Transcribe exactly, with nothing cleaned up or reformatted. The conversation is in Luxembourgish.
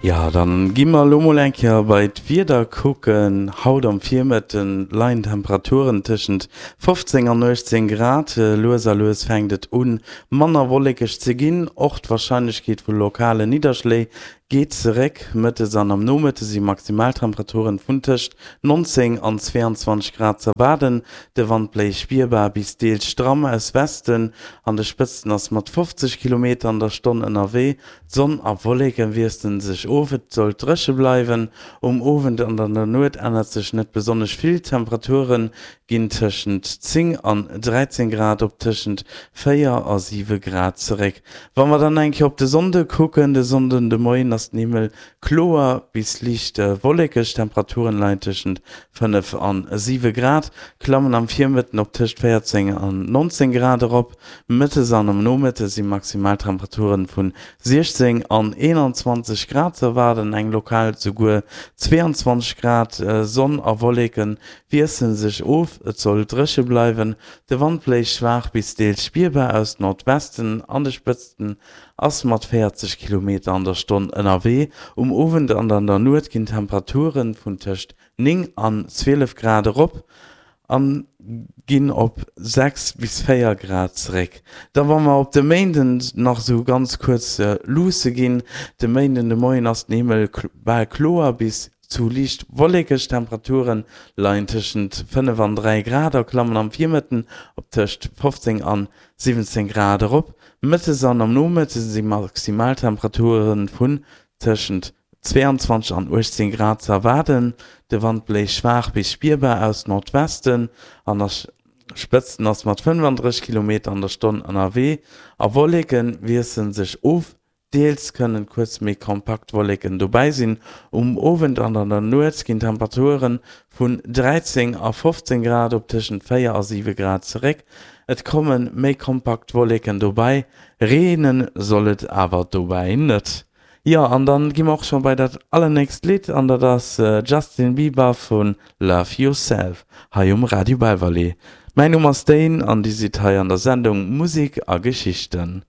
Jo, dann gi mer elo mol eng Kéier bei d'Wieder kucken. Haut am Virmëtte leien d'Temperaturen tëschent fofzéng an uechtzéng Grad. Lues a lues fänkt et un manner wollekeg ze ginn, och d'Warscheinlechkeet vu lokale Nidderschléi geet zeréck. Mëttes an am Nomëtte si Maximaltemperaturen vun tëscht nonzéng an zweeanzwanzeg Grad z'erwaarden. De Wand bléist spierbar bis deels stramm aus Westen, an de Spëtzten ass mat fofzeg Kilometer an der Stonn ënnerwee. D'Sonn a Wolleke wiessle sech of, et soll dréche bleiwen. Um Owend an an der Nuet ännert sech net besonnesch vill, d'Temperature ginn tëschent zéng an dräizéng Grad op tëschent véier a siwe Grad zeréck. Wa mer dann eng Kéier op de Sonnde kucken, de Sonnden de Moien ass den Himmel kloer bis liicht wollekeg, d'Temperaturen leien tëschent fënnef an siwe Grad, klammen am Virmëtten op tëscht véierzéng an nonzéng Grad erop. Mëttes an am Nomëtte si Maximaltemperaturen vun siechzéng an eenanzwanzeg Grad ze erwaarden, eng lokal souguer zweeanzwanzeg Grad. Sonn a Wolleke wiessele sech of, et soll dréche bleiwen. De Wand bléist schwaach bis deels spierbar aus Nordwesten, an de Spëtzten ass mat véierzeg Kilometer an der Stonn ënnerwee. Um Owend an an der Nuet ginn d'Temperature vun tëscht néng an zwielef Grad erop a ginn op sechs bis véier Grad zeréck. Da wa mer op de Méinden nach esou ganz kuerz luusse ginn, De Méinden de Moien ass den Himmel bal kloer bis zu liicht wollekeg, d'Temperature leien tëschent fënnef an dräi Grad a klammen am Virmëtten op tëscht fofzéng an siwwenzéng Grad erop. Mëttes an am Nomëtte si Maximaltemperature vun tëschent zweeanzwanzeg an uechtzéng Grad ze erwaarden. De Wand bléist schwaach bis spierbar aus Nordwesten an a Spëtzten ass mat fënnefandrësseg Kilometer an der Stonn ënnerwee a Wolleke wiessele sech of. Deels kënnen kuerz méi kompakt Wolleken dobäi sinn. Um Owend an an der Nuet ginn d'Temperature vun dräizéng a fofzéng Grad op tëschent véier a siwe Grad zeréck. Et komme méi kompakt Wolleken dobäi, reene soll et awer dobäi net. Jo, an dann gi mer och scho bei dat allernächst Lidd an dat ass Justin Bieber vu Love Yourself hei um Radio Belval. Mäin Numm ass Dane an Dir sidd hei an der Sendung Musek a Geschichten.